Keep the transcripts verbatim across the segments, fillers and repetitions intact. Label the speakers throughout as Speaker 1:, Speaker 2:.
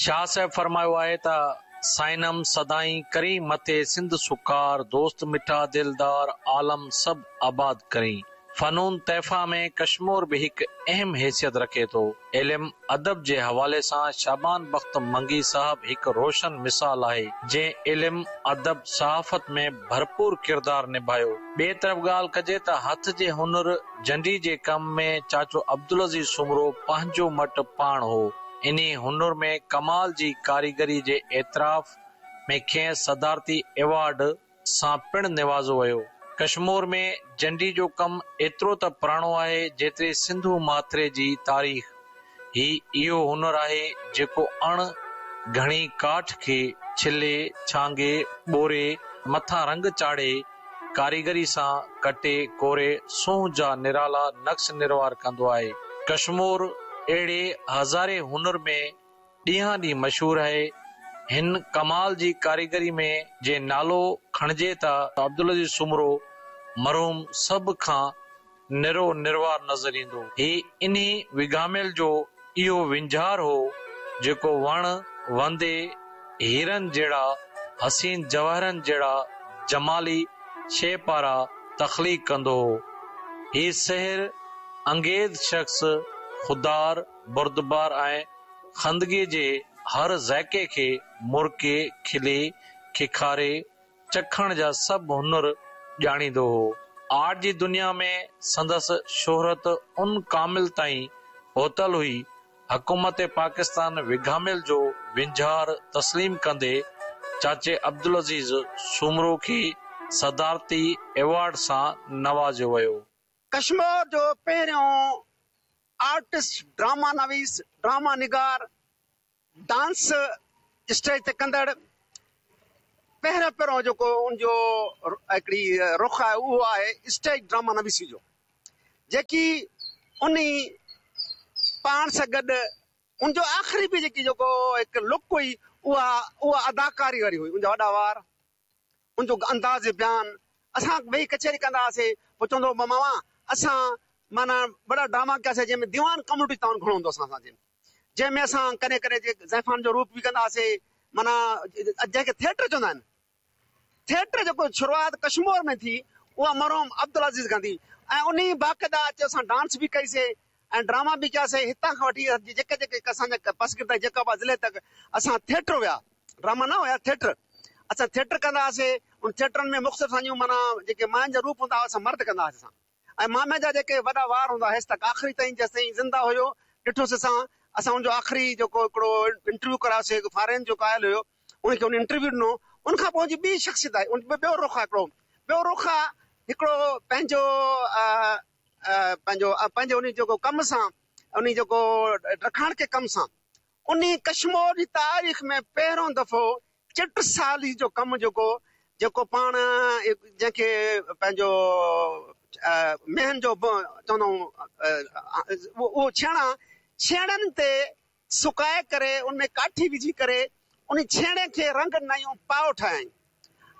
Speaker 1: شاهه صاحب فرمايو آهي ته سائينم سدائين ڪرين مٿي سنڌ سڪار، دوست مٺا دلدار عالم سڀ آباد ڪرين. فنون تحفه ۾ ڪشمور به هڪ اهم حيثيت رکي ٿو. علم ادب جي حوالي سان شعبان بخت منگي صاحب هڪ روشن مثال آهي، جنهن علم، ادب، صحافت ۾ ڀرپور ڪردار نڀايو. ٻئي طرف ڳالهه ڪجي ته هٿ جي هنر جنڊي جي ڪم ۾ چاچو عبدالعزيز سومرو پنهنجو مٽ پاڻ هو. انهي هنر ۾ ڪمال جي ڪاريگري جي اعتراف ۾ کيس صدارتي ايوارڊ سان پڻ نوازيو ويو. ڪشمور ۾ جنڊي جو ڪم ايترو ته پراڻو آهي جيتري سنڌو ماٿري جي تاريخ. هي اهو هنر آهي جيڪو اڻ گهڻي ڪاٺ کي ڇلي، ڇانگي، ٻوري، مٿان رنگ چاڙهي، ڪاريگري سان ڪٽي ڪوري سونهن جا نرالا نقش نروار ڪندو آهي. ڪشمور اهڙي هزارين هنر ۾ ڏينهان ڏينهن مشهور آهي. هن ڪمال جي ڪاريگري ۾ جي نالو کڻجي ته عبدالعزيز سومرو مرحوم سڀ کان نرو نروار نظر ايندو. هي انهي وگهاميل جو اهو وينجهار هو جيڪو وڻ وندي هيرن جهڙا حسين جواهرن جهڙا جمالي شي پارا تخليق ڪندو هو. هي سحر انگيز شخص خوددار، بردبار ۽ خندگي جي هر ذائقي کي مرڪي، کلي، کيکاري چکڻ جا سڀ هنر ڄاڻيندو هو. آرٽ جي دنيا ۾ سندس شهرت ان ڪامل تائين پهتل هئي. حڪومت پاڪستان وگهاميل جو وينجهار تسليم ڪندي چاچي عبدالعزيز سومرو کي صدارتي ايوارڊ سان نوازيو ويو.
Speaker 2: ڪشمور جو پهريون آرٽسٽ، ڊراما نويس، ڊراما نگار، ڊانس اسٽيج تي ڪندڙ پهريون پهريون جيڪو ان جو هڪڙي رخ آهي اهو آهي اسٽيج ڊراما نويسي جو، جيڪي انهي پاڻ سان گڏ ان جو آخري به جيڪي جيڪو هڪ لڪ هئي اها اها اداڪاري واري هئي. ان جا وڏا وار، ان جو انداز بيان، اسان ويهي ڪچهري ڪندا هئاسين، پوء چوندو هو ماما اسان معنيٰ وڏا ڊراما ڪياسين جنهن ۾ ديوان ڪميونٽي تعاون گهڻو هوندو اسان سان، جنهن ۾ اسان ڪڏهن ڪڏهن جي زائفان جو روپ به ڪندا هئاسين، معنيٰ جنهن کي ٿيٽر چوندا آهن. ٿيٽر جيڪو شروعات ڪشمور ۾ ٿي اها مرحوم عبدالعزيز کان ٿي ۽ انهي باقاعده اچي اسان ڊانس به ڪئيسين ۽ ڊراما به ڪياسين. هتان کان وٺي جيڪي جيڪي اسان جا پسگردا جيڪب آباد ضلعي تڪ اسان ٿيٽر هيا، ڊراما نه هيا، ٿيٽر اسان ٿيٽر ڪندا هئاسين. ان ٿيٽرن ۾ مختلف اسان جون معنيٰ جيڪي ماين جا روپ هوندا هئا اسان مرد ڪندا هئاسين اسان، ۽ مامي جا جيڪي وڏا وار هوندا هيس تڪ آخري تائين جيستائين زنده هيو ڏٺوسين اسان. اسان ان جو آخري جيڪو هڪڙو انٽرويو ڪرايوسين، هڪ فارين جيڪو آيل هيو ان کي ان انٽرويو ڏنو. ان کان پوء ان جي ٻي شخصيت آهي، ان ٻيو رخ آهي، هڪڙو ٻيو رخ آهي هڪڙو پنهنجو، آ، آ، پنهنجو، آ، پنهنجو ان جيڪو ڪم سان، ان جيڪو رکاڻ ڪي ڪم سان ان ڪشمور جي تاريخ ۾ پهريون دفعو چٽسالي جو ڪم جيڪو، جيڪو پاڻ جنهن کي پنهنجو، آ، مهن جو ب-، چوندا آهيون، آ، آ، اهو ڇيڻا، ڇيڻن تي سڪائي ڪري ان ۾ ڪاٺي وجهي ڪري ان ڇيڻي کي رنگ ڏنائون، پاءُ ٺاهيائين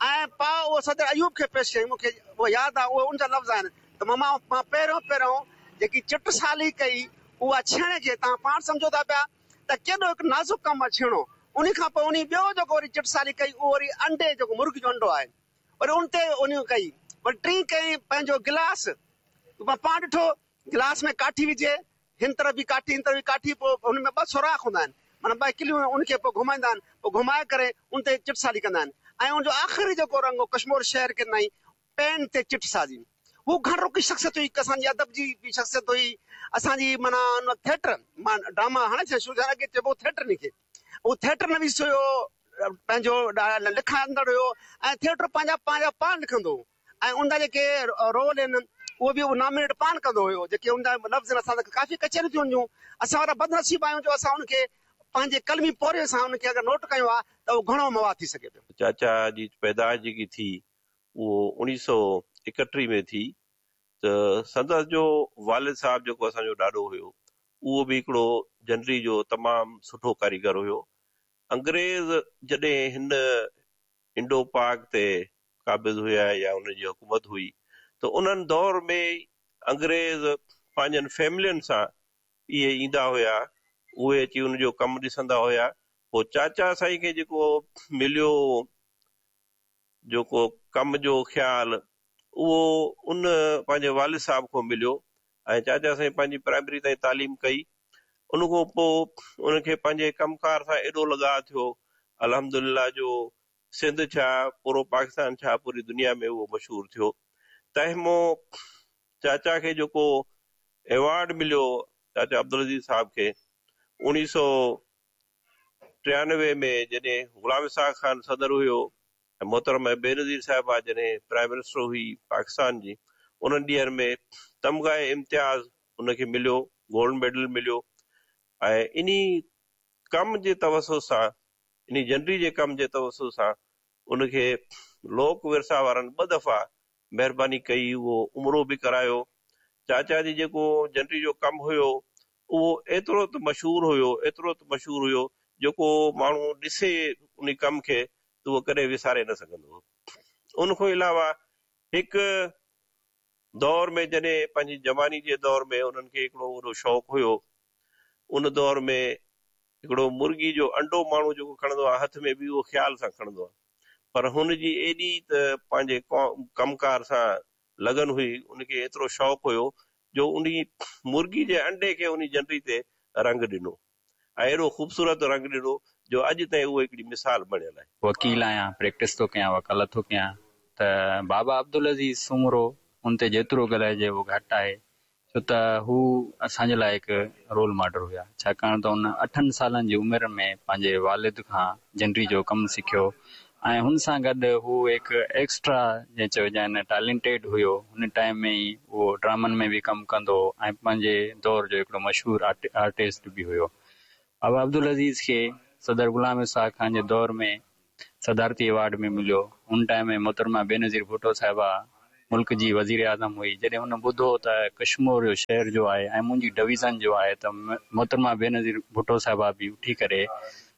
Speaker 2: ۽ پاءُ اهو صدر ايوب کي پيش ڪيائين. مون کي اهو ياد آهي، اهو ان جا لفظ آهن ته ماما مان پهريون پهريون جيڪي چٽسالي ڪئي اها ڇيڻي کي، توهان پاڻ سمجهو ٿا پيا ته ڪيڏو هڪ نازڪ ڪم آهي ڇيڻو. ان کان پوءِ ان ٻيو جيڪو وري چٽسالي ڪئي اهو وري انڊي جيڪو مرغي جو انڊو آهي وري ان تي ان ڪئي. وري ٽين ڪئي پنهنجو گلاس، مان پاڻ ڏٺو گلاس ۾ ڪاٺي وجهي، هن طرف به ڪاٺي هن طرف به ڪاٺي، پوءِ هن ۾ ٻه سوراخ هوندا آهن، معنيٰ ٻه ڪليون، ان کي پوءِ گهمائيندا آهن، پوءِ گهمائي ڪري ان تي چٽسالي ڪندا آهن. ۽ ان جو آخري جيڪو رنگ هو ڪشمور شهر کي ڏنائين پين تي چٽسازي. هو گهڻ رخي شخصيت هئي، اسان جي ادب جي به شخصيت هئي، اسان جي معنيٰ ان وقت ٿيٽر مان ڊراما هاڻي ٿيا شروع ٿيا، اڳي چئبو ٿيٽر ان کي، هو ٿيٽر نويس هيو، پنهنجو لکندڙ هيو ۽ ٿيٽر پنهنجا پنهنجا پاڻ لکندو هو ۽ ان جا جيڪي رول آهن اهو به نامينيٽ پاڻ ڪندو هيو. جيڪي ان جا لفظ آهن، اسان سان ڪافي ڪچهريون ٿيون هونديون، اسان وڏا بدنصيب آهيون جو اسان ان کي پنهنجي قلمي پورهيي سان ان کي اگر نوٽ ڪيو آهي ته اهو گهڻو مواد ٿي سگهي پيو.
Speaker 3: چاچا جي پيدائش جيڪي ٿي اهو اڻويهه سؤ ايڪٽيهه ۾ ٿي، ته سندس جو والد صاحب جيڪو اسان جو ڏاڏو هيو اهو به هڪڙو جنڊي جو تمام سٺو ڪاريگر هيو. انگريز جڏهن هن انڊو پاڪ تي قابض هيا يا ان جي حڪومت هئي ته انهن دور ۾ انگريز پنهنجن فيملين سان اهي ايندا هيا، اهي اچي ان جو ڪم ڏسندا هيا पोइ चाचा साईं खे जेको मिलियो जेको कम जो ख़्यालु उहो उन पंहिंजे वालिद साहिब खां मिलियो ऐं चाचा साईं पंहिंजी प्राइमरी ताईं तालीम कई। उन खां पोइ उनखे पंहिंजे कमकार सां एॾो लॻाउ थियो, अल्हम्दुलिल्लाह जो सिंध छा पूरो पाकिस्तान छा पूरी दुनिया में उहो मशहूर थियो। तंहिं मां चाचा खे जेको अवार्ड मिलियो चाचा अब्दुल अज़ीज़ साहिब खे उणिवीह सौ टियानवे में जॾहिं ग़ुलाम इसहाक़ ख़ान सदर हुयो ऐं मोहतरमा बेनज़ीर साहिबा जॾहिं प्राइम मिनिस्टर हुई पाकिस्तान जी, उन्हनि ॾींहंनि में तमगा इम्तियाज़ उनखे मिलियो, गोल्ड मेडल मिलियो। ऐं इन्ही कम जे तवसुत सां, इन्ही जनरी जे कम जे तवसुत सां उनखे लोक विरसा वारनि ॿ दफ़ा महिरबानी कई, उहो उमिरो बि करायो। चाचा जी जेको जनरी जो कमु हुयो उहो एतिरो त मशहूरु हुयो, एतिरो त मशहूरु हुयो जेको माण्हू ॾिसे उन कम खे त उहो कॾहिं विसारे न सघंदो। उन खां अलावा हिकु दौर में जॾहिं पंहिंजी जवानी जे दौर में उन्हनि खे हिकिड़ो वॾो शौक़ु हुयो, उन दौर में हिकिड़ो मुर्गी जो अंडो माण्हू जेको खणंदो आहे हथ में बि उहो ख़्याल सां खणंदो आहे, पर हुन जी एॾी त पंहिंजे कमकार सां लगन हुई, उनखे एतिरो शौक़ु हुयो जो उन मुर्गी जे अंडे खे उन जनरी ते रंग ॾिनो ऐं एॾो ख़ूबसूरत रंग ॾिनो जो अॼु ताईं उहो हिकिड़ी मिसाल बणियल आहे।
Speaker 4: वकील आहियां, प्रैक्टिस थो कयां, वकालत थो कयां, त बाबा अब्दुल अज़ीज़ सूमरो उन ते जेतिरो ॻाल्हाइजे उहो घटि आहे, छो त हू असांजे लाइ हिकु रोल मॉडल हुया। छाकाणि त हुन अठनि सालनि जी उमिरि में पंहिंजे वालिद खां जनरी जो कमु सिखियो ऐं हुन सां गॾु हू हिकु एक्स्ट्रा जंहिं चइजि टैलेंटेड हुयो। हुन टाइम में ई उहो ड्रामनि में बि कमु कंदो हो ऐं पंहिंजे दौर जो हिकिड़ो मशहूरु आर्टिस्ट बि हुयो। बाबा अब्दुल अज़ीज़ खे सदर ग़ुलाम इसहाक़ ख़ान जे दौर में सदारती अवार्ड में मिलियो। हुन टाइम में मोहतरमा बेनज़ीर भुट्टो साहिबा मुल्क जी वज़ीर आज़म हुई। जॾहिं हुन ॿुधो त कश्मोर जो शहर जो आहे ऐं मुंहिंजी डिवीज़न जो आहे त मोहतरमा बेनज़ीर भुट्टो साहिबा बि उथी करे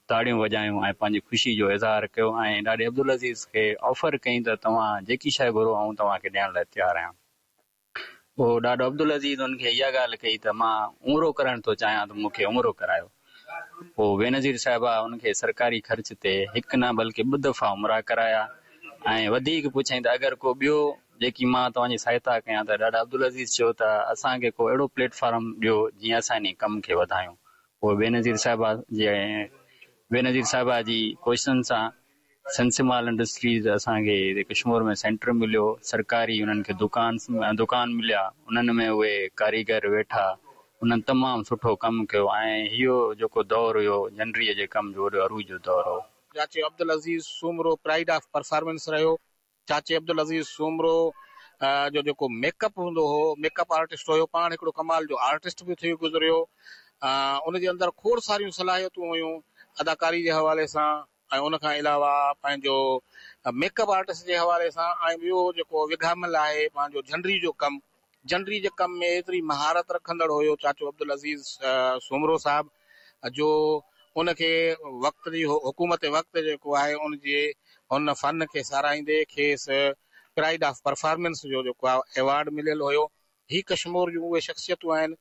Speaker 4: ताड़ियूं वॼायूं ऐं पंहिंजी ख़ुशी जो इज़हार कयो ऐं ॾाढे अब्दुल अज़ीज़ खे ऑफर कई त तव्हां जेकी शइ घुरो आउं तव्हांखे ॾियण लाइ तयारु आहियां। पोइ ॾाढो अब्दुल अज़ीज़ हुनखे इहा ॻाल्हि कई त मां उमिरो करणु थो चाहियां त मूंखे उमिरो करायो। पोइ बेनज़ीर साहिबा हुनखे सरकारी ख़र्च ते हिकु न बल्कि ॿ दफ़ा उमिरा कराया ऐं वधीक पुछयईं त अगरि को ॿियो जेकी मां तव्हांजी सहायता कयां त ॾाढा अब्दुल अज़ीज़ चयो त असांखे को अहिड़ो प्लेटफॉर्म ॾियो जीअं असां इन कम खे वधायूं। पोइ बेनज़ीर साहिबा जे बेनज़ीर साहिबा जी कोशिशनि सां सिंसिमाल इंडस्ट्रीज़ असांखे कश्मोर में सेंटर मिलियो, सरकारी उन्हनि खे दुकान दुकान मिलिया, उन्हनि में उहे कारीगर वेठा, उन्हनि तमामु सुठो कमु कयो ऐं इहो जेको दौर हुयो जनरीअ जे कम जो वॾो अरूज जो दौर हो।
Speaker 5: चाचे Abdul Aziz Soomro pride of performance रहियो। चाचे अब्दुल अज़ीज़ सूमरो जो जेको मेकअप हूंदो हो, मेकअप आर्टिस्ट हुयो, पाण हिकिड़ो कमाल जो आर्टिस्ट बि थी गुज़रियो। उन जे अंदरि खोड़ सारियूं सलाहियतूं हुयूं अदाकारी जे हवाले सां ऐं उन खां अलावा पंहिंजो मेकअप आर्टिस्ट जे हवाले सां ऐं ॿियो जेको विघामल आहे पंहिंजो झंडरी जो कमु, झंडरी जे कम में एतिरी महारत रखंदड़ हुयो चाचो अब्दुल अज़ीज़ सूमरो साहिब जो उनखे वक़्त जी हुकूमत वक़्तु जेको आहे उनजे हुन फन खे सराहींदे खेसि प्राइड ऑफ परफॉर्मेंस जो जेको आहे अवार्ड मिलियल हुयो। ही कश्मोर जूं उहे शख़्सियतूं आहिनि।